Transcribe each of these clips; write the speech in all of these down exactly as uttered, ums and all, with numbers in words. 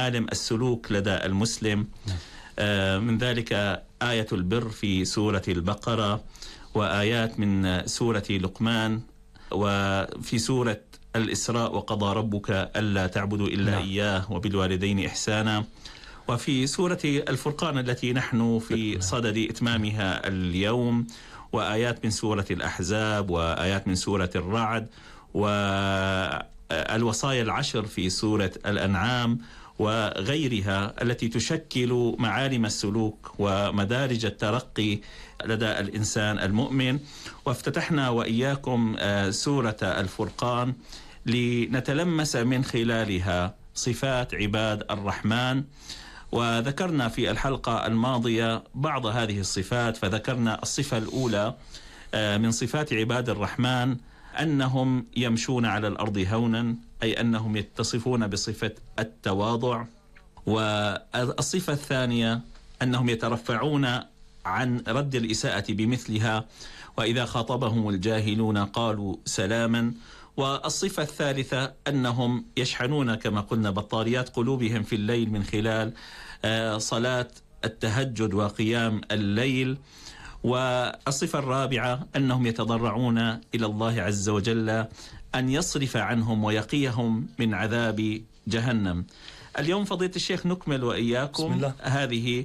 معالم السلوك لدى المسلم. من ذلك آية البر في سورة البقرة، وآيات من سورة لقمان، وفي سورة الإسراء وقضى ربك ألا تعبدوا إلا نعم. إياه وبالوالدين إحسانا، وفي سورة الفرقان التي نحن في صدد إتمامها اليوم، وآيات من سورة الأحزاب، وآيات من سورة الرعد، والوصايا العشر في سورة الأنعام وغيرها التي تشكل معالم السلوك ومدارج الترقي لدى الإنسان المؤمن. وافتتحنا وإياكم سورة الفرقان لنتلمس من خلالها صفات عباد الرحمن، وذكرنا في الحلقة الماضية بعض هذه الصفات. فذكرنا الصفة الأولى من صفات عباد الرحمن أنهم يمشون على الأرض هونا، أي أنهم يتصفون بصفة التواضع. والصفة الثانية أنهم يترفعون عن رد الإساءة بمثلها، وإذا خاطبهم الجاهلون قالوا سلاما. والصفة الثالثة أنهم يشحنون كما قلنا بطاريات قلوبهم في الليل من خلال صلاة التهجد وقيام الليل. والصفة الرابعة أنهم يتضرعون إلى الله عز وجل أن يصرف عنهم ويقيهم من عذاب جهنم. اليوم فضيلة الشيخ نكمل وإياكم هذه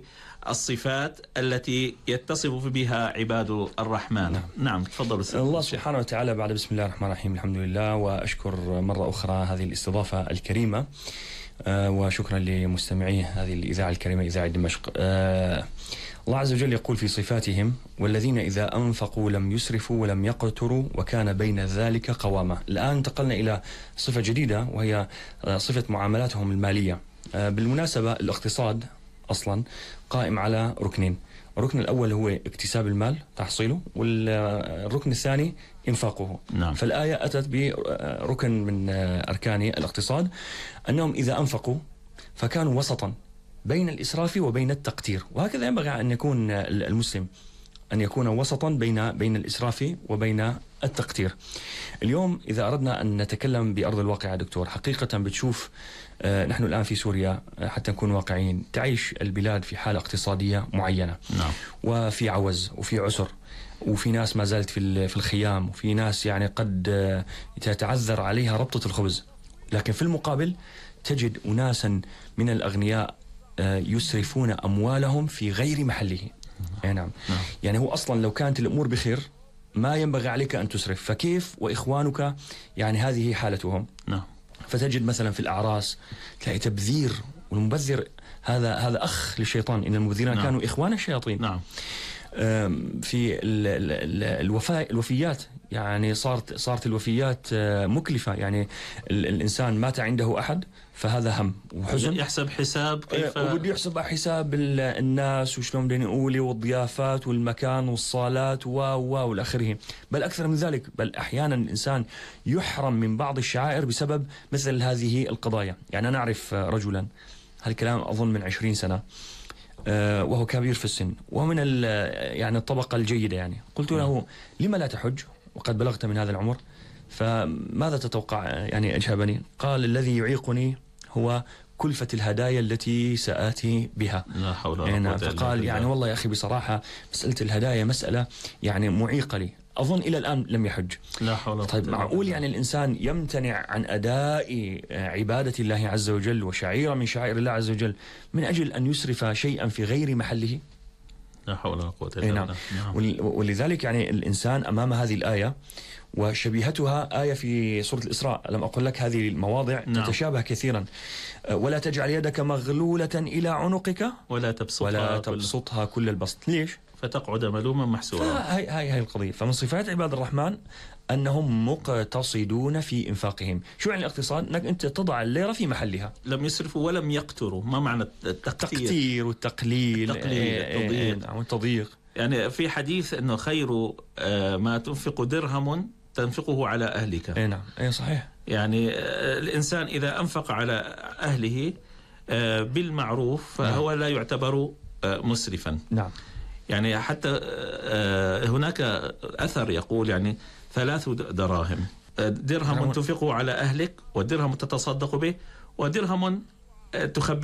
الصفات التي يتصف بها عباد الرحمن. نعم, نعم. تفضلوا. الله سبحانه وتعالى بعد بسم الله الرحمن الرحيم الحمد لله، وأشكر مرة أخرى هذه الاستضافة الكريمة، آه وشكرا لمستمعي هذه الإذاعة الكريمة إذاعة دمشق. آه الله عز وجل يقول في صفاتهم: والذين إذا أنفقوا لم يسرفوا ولم يقتروا وكان بين ذلك قواما. الآن انتقلنا إلى صفة جديدة وهي صفة معاملاتهم المالية. بالمناسبة الاقتصاد أصلا قائم على ركنين: الركن الأول هو اكتساب المال تحصيله، والركن الثاني إنفاقه. نعم. فالآية أتت بركن من أركان الاقتصاد أنهم إذا أنفقوا فكانوا وسطا بين الإسراف وبين التقتير، وهكذا ينبغي أن يكون المسلم، أن يكون وسطا بين بين الإسراف وبين التقتير. اليوم إذا أردنا أن نتكلم بأرض الواقع يا دكتور، حقيقة بتشوف آه نحن الآن في سوريا، آه حتى نكون واقعيين، تعيش البلاد في حالة اقتصادية معينة. نعم. وفي عوز وفي عسر، وفي ناس ما زالت في في الخيام، وفي ناس يعني قد آه تتعذر عليها ربطة الخبز. لكن في المقابل تجد أناسا من الأغنياء يسرفون أموالهم في غير محله. نعم. نعم. يعني هو أصلا لو كانت الأمور بخير ما ينبغي عليك أن تسرف، فكيف وإخوانك يعني هذه حالتهم؟ نعم. فتجد مثلا في الأعراس تلاقي تبذير، والمبذر هذا هذا أخ للشيطان، إن المبذرين نعم. كانوا إخوان الشياطين. نعم. في الوفاء الوفيات، يعني صارت صارت الوفيات مكلفة. يعني الإنسان مات عنده أحد فهذا هم وحزن، يحسب حساب كيف وبده يحسب حساب الناس وشلون بدهم يقولوا والضيافات والمكان والصالات و و والآخره. بل أكثر من ذلك، بل أحيانا الإنسان يحرم من بعض الشعائر بسبب مثل هذه القضايا. يعني أنا أعرف رجلا، هالكلام أظن من عشرين سنة، وهو كبير في السن ومن يعني الطبقة الجيدة. يعني قلت له: لما لا تحج وقد بلغت من هذا العمر؟ فماذا تتوقع يعني أجابني؟ قال: الذي يعيقني هو كلفة الهدايا التي سآتي بها. لا حول ولا قوة إلا بالله. فقال: يعني والله يا أخي بصراحة مسألة الهدايا مسألة يعني معيقة لي. أظن إلى الآن لم يحج. لا حول ولا قوة. طيب معقول يعني الإنسان يمتنع عن أداء عبادة الله عز وجل وشعيرة من شعائر الله عز وجل من أجل أن يسرف شيئا في غير محله؟ لا حول ولا قوة إلا بالله. نعم. ولذلك يعني الإنسان أمام هذه الآية وشبيهتها آية في سورة الإسراء، لم أقول لك هذه المواضع نعم. تتشابه كثيرا. ولا تجعل يدك مغلولة إلى عنقك ولا تبسطها, ولا تبسطها كل البسط. ليش؟ فتقعد ملوما محسورا. هاي هاي هاي القضية. فمن صفات عباد الرحمن أنهم مقتصدون في إنفاقهم. شو يعني الاقتصاد؟ أنك أنت تضع الليرة في محلها. لم يسرفوا ولم يقتروا. ما معنى التقتير؟ التقتير والتقليل التقليل التضييق والتضييق. يعني في حديث أنه خير ما تنفق درهم تنفقه على أهلك. اي نعم، اي صحيح. يعني الإنسان إذا أنفق على أهله بالمعروف فهو لا يعتبر مسرفا. نعم. يعني حتى هناك أثر يقول يعني ثلاث دراهم: درهم تنفقه على أهلك، ودرهم تتصدق به، ودرهم تخبئ